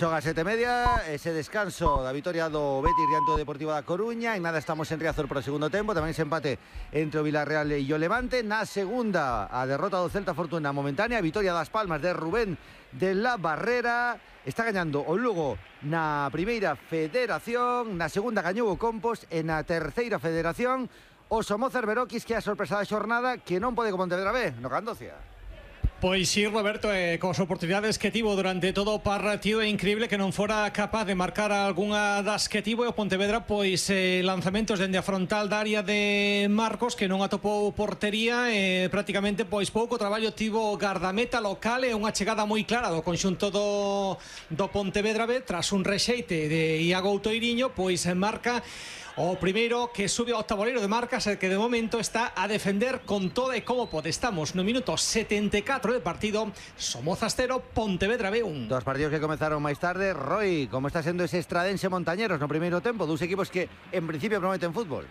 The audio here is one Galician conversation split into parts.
Son as 7:30, ese descanso da vitoria do Betis diante do Deportivo da Coruña. En nada estamos en Riazor por o segundo tempo. Tamén ese empate entre o Villarreal e o Levante. Na segunda, a derrota do Celta Fortuna momentánea. Vitoria das Palmas de Rubén de la Barrera. Está gañando o Lugo na primeira federación. Na segunda gañou o Compos. E na terceira federación o Somozas Beroquis, que é a sorpresa da xornada, que non pode con Pontevedra B no Candocia. Pois sí, Roberto, cos oportunidades que tivo durante todo o partido, é increíble que non fora capaz de marcar algunha das que tivo. E o Pontevedra, pois lanzamentos dende a frontal da área de Marcos, que non atopou portería, prácticamente pois pouco traballo tivo o gardameta local. É unha chegada moi clara do conxunto do Pontevedra B, tras un rexeite de Iago Outoiriño, pois marca o primeiro que sube ao tabuleiro de marcas, e que de momento está a defender con toda e como pode. Estamos no minuto 74 de partido. Somozas 0, Pontevedra B 1. Dos partidos que comenzaron máis tarde. Roy, como está sendo ese Estradense Montañeros no primeiro tempo? Dos equipos que en principio prometen fútbol.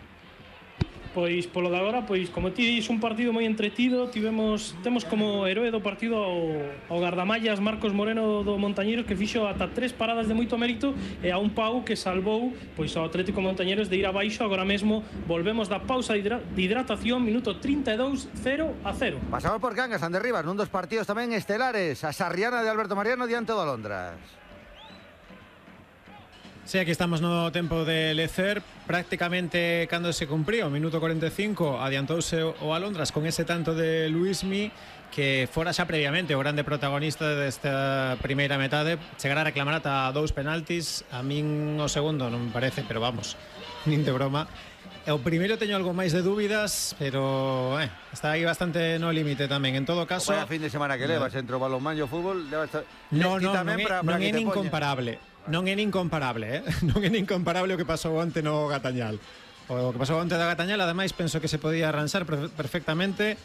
Pois polo de agora, pois como ti dis, un partido moi entretido. Temos como heroe do partido ao gardamallas Marcos Moreno do Montañeros, que fixo ata 3 paradas de moito mérito, e a un Pau que salvou pois ao Atlético Montañeros de ir abaixo. Agora mesmo volvemos da pausa de hidratación, minuto 32, 0-0. Pasamos por Cangas, ande Rivas, nun dos partidos tamén estelares. A Sarriana de Alberto Mariano diante do Alondras. Sí, aquí estamos no tempo de lecer. Prácticamente cando se cumpriu o minuto 45 adiantouse o Alondras con ese tanto de Luismi, que fora xa previamente o grande protagonista desta primeira metade. Chegar a reclamar ata 2 penaltis. A min o segundo non me parece, pero vamos, nin de broma. O primeiro teño algo máis de dúbidas, pero está aí bastante no límite tamén. En todo caso, a fin de semana que levas entre o balonmán e o fútbol, debe estar... Non é nin comparable. Non é nin comparable, non é nin comparable o que pasou onte no Gatañal. O que pasou onte da Gatañal, ademais, penso que se podía arranxar perfectamente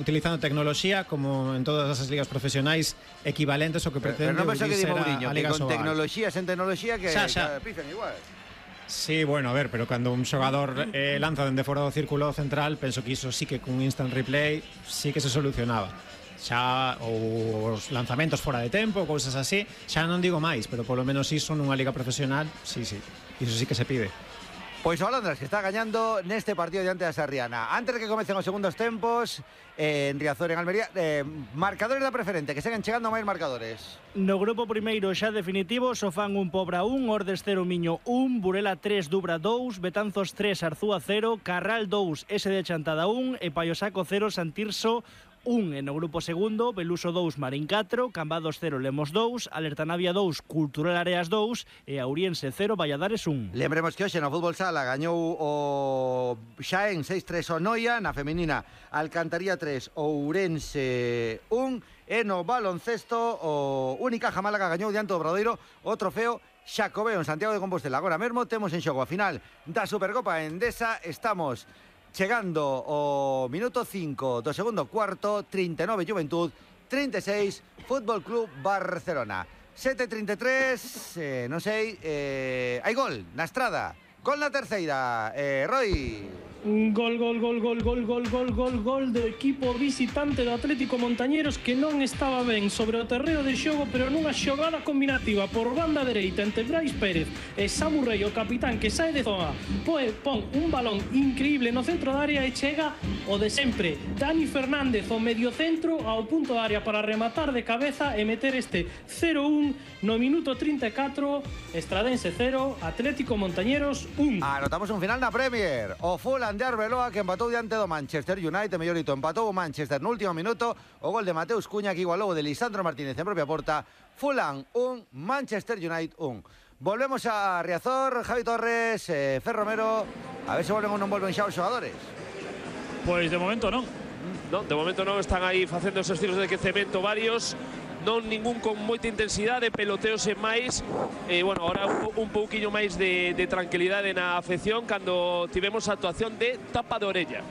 utilizando tecnoloxía, como en todas as ligas profesionais equivalentes ao que pretende pero non penso que di Mourinho, a que Liga con Sobal. tecnoloxía, sen tecnoloxía, que pifan igual. Sí, bueno, a ver, pero cando un xogador lanza dende fora do círculo central, penso que iso sí que cun instant replay sí que se solucionaba. Xa os lanzamentos fora de tempo, cousas así, xa non digo máis, pero polo menos iso nunha liga profesional, sí, iso sí que se pide. Pois o Alondras, que está gañando neste partido diante da Sarriana. Antes de que comecen os segundos tempos, en Riazor, en Almería, marcadores da preferente, que seguen chegando máis marcadores. No grupo primeiro xa definitivo, Sofán 1, Pobra 1, Ordes 0, Miño 1, Burela 3, Dubra 2, Betanzos 3, Arzúa 0, Carral 2, S de Chantada 1 e Paiosaco 0, Santirso 1. En o grupo segundo, Beluso 2, Marín 4, Cambados 0, Lemos 2, Alertanavia 2, Cultural Areas 2 e Auriense 0, Valladares 1. Lembremos que hoxe no fútbol sala gañou o Xaén 6-3 o Noia, na femenina Alcantaría 3, Ourense 1 e no baloncesto o Unicaja Málaga gañou diante do Obradoiro o trofeo Xacobeo en Santiago de Compostela. Agora mesmo temos en xogo a final da Supercopa Endesa. Estamos chegando o minuto 5 do segundo cuarto. 39 Juventud, 36 Fútbol Club Barcelona. 7:33, non sei, hai gol na Estrada, gol na terceira, Roy. Gol do equipo visitante do Atlético Montañeros, que non estaba ben sobre o terreo de xogo, pero nunha xogada combinativa por banda dereita entre Brais Pérez e Samu Rey, o capitán, que sae de zona, pon un balón increíble no centro da área e chega o de sempre, Dani Fernández, o medio centro, ao punto da área para rematar de cabeza e meter este 0-1 no minuto 34. Estradense 0, Atlético Montañeros 1. Anotamos un final na Premier. O Fulham de Arbeloa, que empatou diante do Manchester United, mellorito, empatou o Manchester no último minuto. O gol de Mateus Cuña, que igualou o de Lisandro Martínez en propia porta. Fulham 1, Manchester United 1. Volvemos a Riazor, Javi Torres, Fer Romero. A ver se volven ou non volven xa os xogadores. Pois de momento non. Non, de momento non, están aí facendo esos tiros de quecemento varios. Non ningún con moita intensidade, peloteos e máis. Bueno, ahora un pouquiño máis de tranquilidade na afección cando tivemos a actuación de tapa de orella.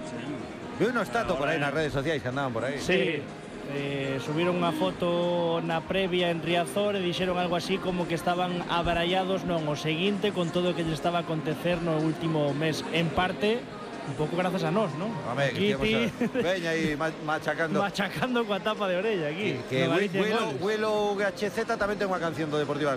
Vi unos tatos por aí nas redes sociais que andaban por aí. Sí. Subiron unha foto na previa en Riazor e dixeron algo así como que estaban abrallados o seguinte con todo o que lle estaba a acontecer no último mes, en parte un pouco grazas a nós, non? Home, que veña aí machacando. Machacando coa tapa de orella aquí. Que Willow HZ tamén ten unha canción do Deportivo